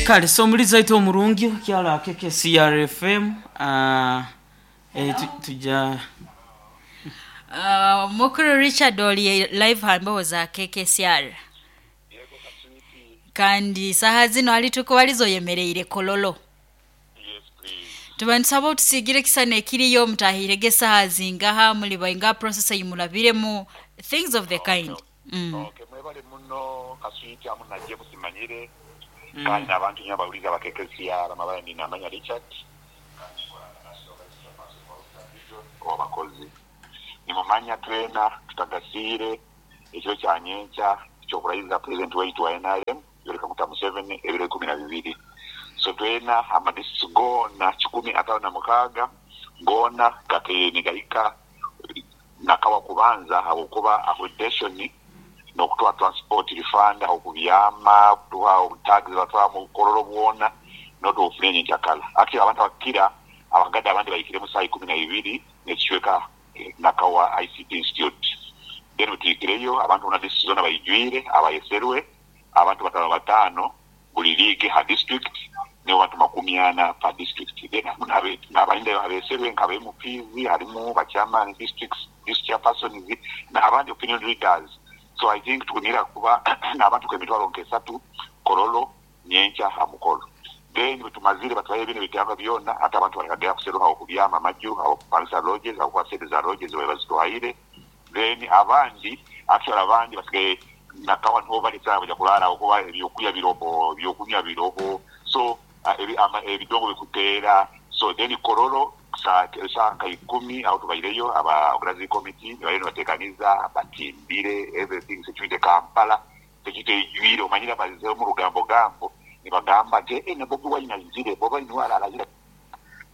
Kale so omulizi waitu omurungi okyala KKCR FM, eh, tuja. Mukulu Richard oli live ha mbeho za KKCR. Kandi saha zino hali tukubaliza oyemereire Kololo. Tuba nitusaba otusiigire ekisani ekiriyo mutahiirege esaha zingaha, muli baingaha, process ei murabiremu, things of the kind. Okay mwebale muno Kaswiti hamu na James Manyire kandi nabantu inywena abawuliza aba KKCR amabara ndi Namanya Richard kandi nkora nka National Vice Chairperson wa Western Region owabakozi. Nimumanya twena tutagasiire ekiro kya nyenkya ekyokurahiza President waitu wa nrm Yoweri Kaguta Museveni ebiro ikumi na bibiri. So twena ama districts goona kikumi ataano na mukaaga goona gakaire nigahika Nakawa kubanza ahabw'okuba accreditation n'okutuha transport refund ah'okubyama, okutuha tags batwara mu Kololo bwona n'otuha ofuna enyenkyakara. Actually abantu abakukira abagade abandi bahikiremu saaha ikumi na ibiri n'ekicweka Nakawa ICT Institute. Then bwetuhikireyo abantu bona district zona baijwire abayeserwe abantu batano batano buli league ha district nibo bantu makumi ana per district then harimu nabandi abeserwe nka ba MPs harimu ba chairman districts, district chairpersons nabandi opinion leaders so I think tukunira kuba nabantu nkemitwaro nkesatu Kololo nyenkya ha mukolo then bwetumazire batuhayo ebindi ebitanga byona ate abantu balikagera kuseruka ahokubyama amaju ahokupangisa lodges ahabwokuba sente za lodges babaire bazituhaire. Then abandi actually abandi basigaire nakawa niho bari esaaha baija kuraara ahabwokuba ebyokurya biroho, ebyokunywa biroho so ebidongo bikuteera so then Kololo esaaha nka ikumi aho tubaireyo aba organizing committee nibariyo nibateekaniza batimbire everything security Kampala security eijwire omanyire abazire omu rugambo gambo nibagamba nti eeh na Bobi Wine aizire, Bobi Wine niwe araara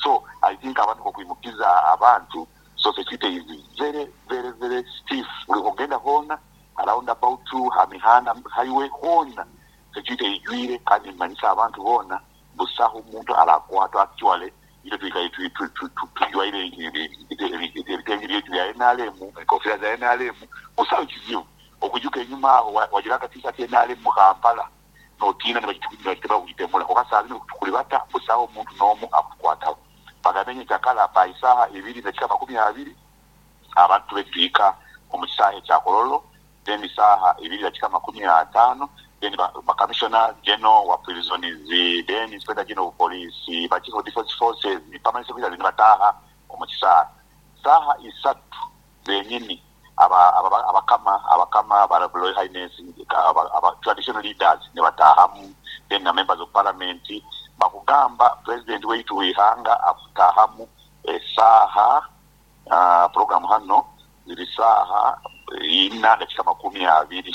so I think abantu okwimukiza abantu. So security is very very very stiff buli wogenda hoona ha round about, ha mihanda highway hoona security eijwire kandi nimanyisa abantu boona busaho muntu arakwatwa actually itwe twikaire tujwaire ebitengi byaitu bya nrm, enkofira za nrm busaho kizibu. Okwijuka enyuma aho wajura aka t-shirt nrm mu Kampala notiina nibagitema kugitemura kwonka saaha zinu tukuribata busaho muntu nomu akutukwataho. Bagambe nyekyakara by saaha ibiri dakika makumi abiri abantu tube nituhika omu kisaahe kya Kololo then saaha ibiri dakika makumi ataano then ba Commissioner General wa Prisons then Inspector General of Police ba Chief of Defence Forces Permanent Secretaries nibataaha omu kisaahe. Saaha isatu zenyini abakama abakama ba Royal Highness aba traditional leaders nibataahamu then na members of parliament bakugamba president waitu weihanga akutaahamu esaaha program hano ziri saaha ina dakika makumi abiri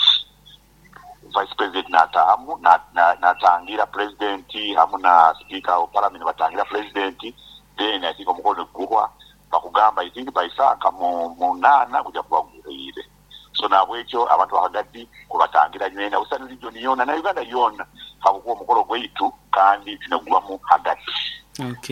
vice president nataahamu natangira president hamu na speaker of parliament nibatangira president then I think omukolo niguhwa Bakugamba I think by saaha nka munaana guja kuba guhweire. So nahabwekyo abantu ba Kagadi kubatangira nywena Western region yoona na Uganda yoona habwokuba omukolo gwaitu kandi twine kugubamu hagati.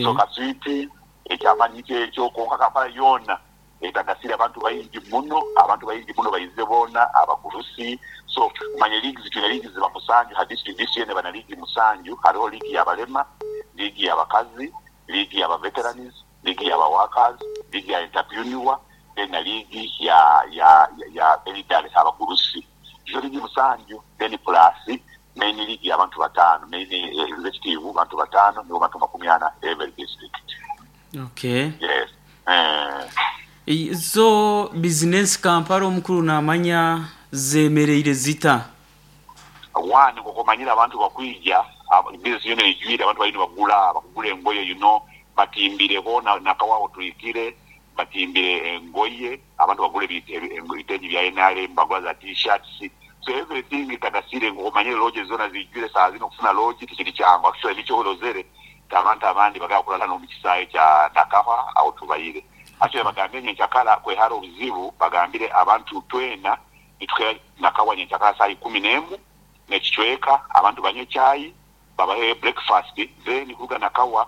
So Kaswiti ekyamani nikyo ekyo kwonka Kampala yoona etagasire abantu baingi muno, abantu baingi muno baizire boona abagurusi. So manya leagues twine leagues ziba musanju ha district, district yoona eba na league musanju, hariho league yabalema, league yabakazi, league yaba veterans, liigi ya ba workers, liigi ya entrepreneur then na liigi ya ya ya elderly, abagurusi. Ezo liigi musanju then plus main liigi ya bantu bataano, main executive bantu bataano nibo bantu makumi ana every district. Okay. Yes. Eh. Zo bizinensi Kampala omukuru namanya zemereire zita? One, nk'oku omanyire abantu bakwija, bizinesi yoona eijwire abantu bariyo nibagura, bakugura engoye you know, batimbire hoona Nakawa tuhikire, batimbire engoye, abantu bagura ebitengi bya nrm, bagura za T-shirts, so everything etagasire nk'oku omanyire lodges zoona ziijwire saaha zinu okufuna lodge tikiri kyangu, actually nikyo orozere nti abantu abandi bagaba kurara n'omu kisaahe kya Nakawa ahu tubaire. Actually bagambire nyenkyakara kwehara obuzibu, bagambire abantu twena Nituhera Nakawa nyenkyakara saaha ikumi n'emu n'ekicweka, abantu banywe chai, babahe breakfast, then kuruga Nakawa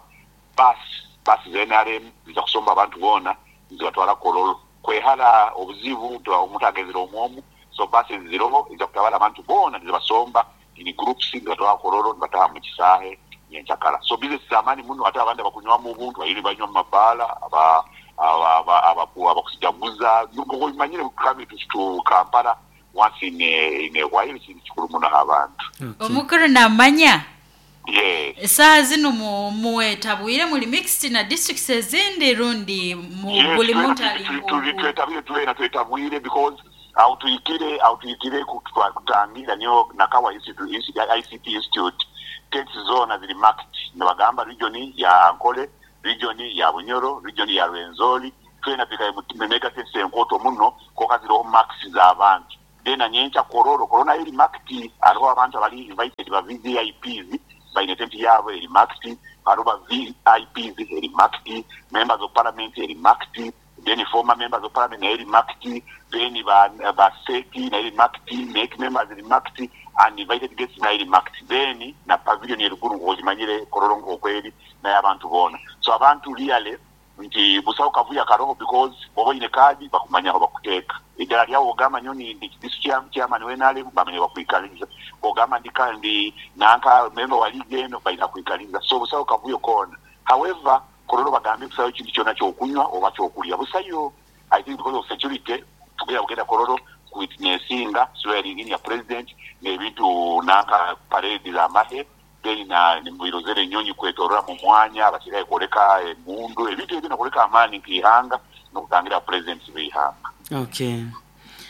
bus, bus za nrm ziija kusomba abantu boona nizibatwara Kololo. Kwehara obuzibu nti omuntu agenzire omu omu, so bus ziroho eziija kutabara abantu boona nizibasomba In groups nibatwara Kololo, nibataha mu kisaahe nyenkyakara. So business z'amaani muno. Ate abandi abakunywamu obuntu bayire banywa mu mabaala, abakusijaguza manyire coming to Kampala once in a while kintu kikuru muno abantu. Omukuru namanya. Yes. Esaaha zino muwetabwire muli mixed na districts ezindi rundi Yes, buli twena muntu ali twetabire, twena twetabwire, because aho tuhikire kutangira niyo Nakawa Institute, ICT Institute, tents zona ziri marked, nibagamba region ya Ankole, region ya Bunyoro, region ya Rwenzori. Twena twikaye mu mega tents enkoto muno koka ziriho marks z'abantu. Then nyencha Kololo, Kololo nayo eri marked. Hariho abantu abali invited ba VVIPs baine tent yabo eri marked, hariho ba VIPs eri marked, members of parliament eri marked, then former members of parliament nayo eri marked, then ba state nayo eri marked, NEC members eri marked, and invited guests nayo eri marked. Then na pavilion eruguru ng'ogimanyire Kololo ng'okweri naye abantu boona. So abantu really nti busawo kavuya karoho, because bwoba oyine kaadi bakumanya aho bakuteeka. Eddala lyawo ogamba nyo ni ndi district chairman w'NRM, bamanye bakwikaliza. Ogamba ndi kandi nanka member wa league eno, balina kwikaliza. So busawo kavuyo koona. However, Kololo bagambye busayo kintu kyonna kyokunywa oba kyokulya, busayo. I think because of security, tugenda kugenda Kololo witnessinga swearing in ya president n'ebintu nanka parade z'amahe, then na nibirozere enyonyi kwetorora mu mwanya, abasirikale kwoleka emundu, ebintu ebyo nakwoleka amaani nk'ihanga n'okutangira president w'ihanga.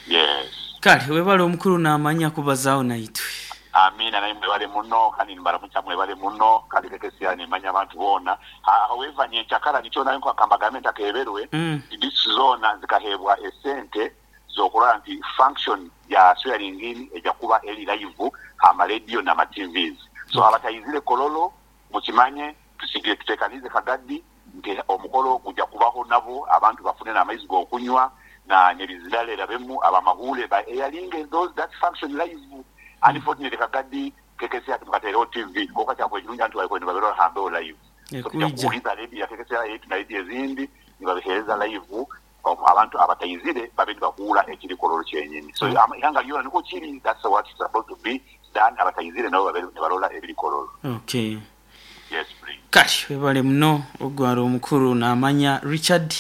Yes. Kale webale omukuru namanya kubazaawo naitwe. Amina, naye mwebale muno kandi nibaramukya, mwebale muno kandi kekesia nimanya abantu boona. However, nyenkyakara nikyo nayo nkakamba gavumenti akeberwe. District zona zikahebwa esente zokulaba nti function ya swearing in ejja kuba eri live ama radio n'ama TVs. So abatayizire Kololo mukimanye, tusigire tutekanize kagadi nti omukolo gujja kubaho, nabo abantu bafune n'amaizi g'okunywa na nebizirala erabemu abamahule ba airing those that function live. Unfortunately, kagadi kekesi ati mukateerewo TV koka kyakwe kirungi antu bariko nibaberora hambeho live. So tujja Ekuija. Kuwuliza radio ya kekesi yetu na radio ezindi nibabihereza live, abantu abatayizire babe nibakuula ekiri Kololo kyenyini. So ihanga lyona niko kiri. That's what is supposed to be done. Abatayizire nabo babe nibarola ebiri Kololo. Yes, please. Kale webale muno ogwala omukuru namanya Richard,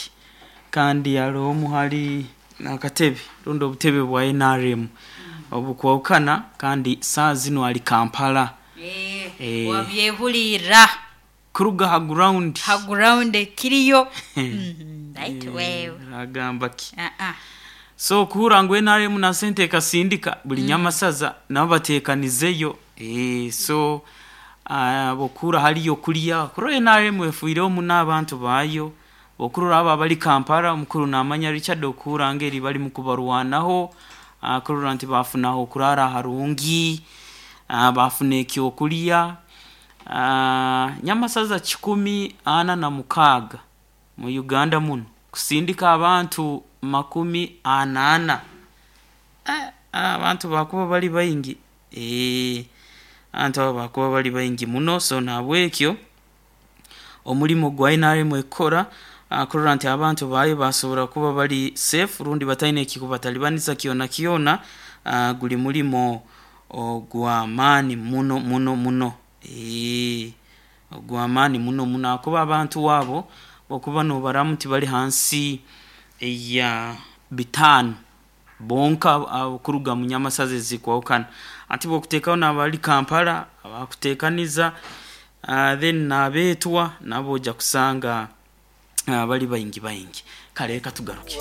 kandi aliwo omuhali nakatebe rundi obutebe bwa NRM obukwawukana, kandi saa zino ali Kampala. Wabyehulira. Kuruga ha ground. Ha ground ekiriyo. Right, wewe. Agamba ki? Ah, ah. So kuhura ngu NRM na sente ekasindika buli nyamasaza nabo batekanizeyo. So bokura haliyo kulya kurora NRM efuireho muno abantu baayo, okurora abo abali Kampala, omukuru namanya Richard, okuhura ngeri bali mukubarwanaho, kurora nti bafunaho okurara harungi, bafuna ekyokulya. Nyamasaza 146 mu Uganda muno kusindika abantu 40. Abantu bakuba bali baingi, abantu abo bakuba bali baingi muno. So nabwekyo omulimu gwa NRM ekukora, kurora nti abantu baayo basobora kuba bali safe rundi bataine ekikubatalibaniza kyona kyona, guli mulimo ogw'amaani muno muno muno, ogw'amaani muno muno, akuba abantu wabo okuba nobaramu tibali hansi ya 5 bonka kuruga mu nyamasaza ezikwawukana. Ati bwokuteekaho n'abali Kampala abakuteekaniza, then n'abeetwa nabo ojja kusanga bali baingi baingi. Kale reka tugaruke.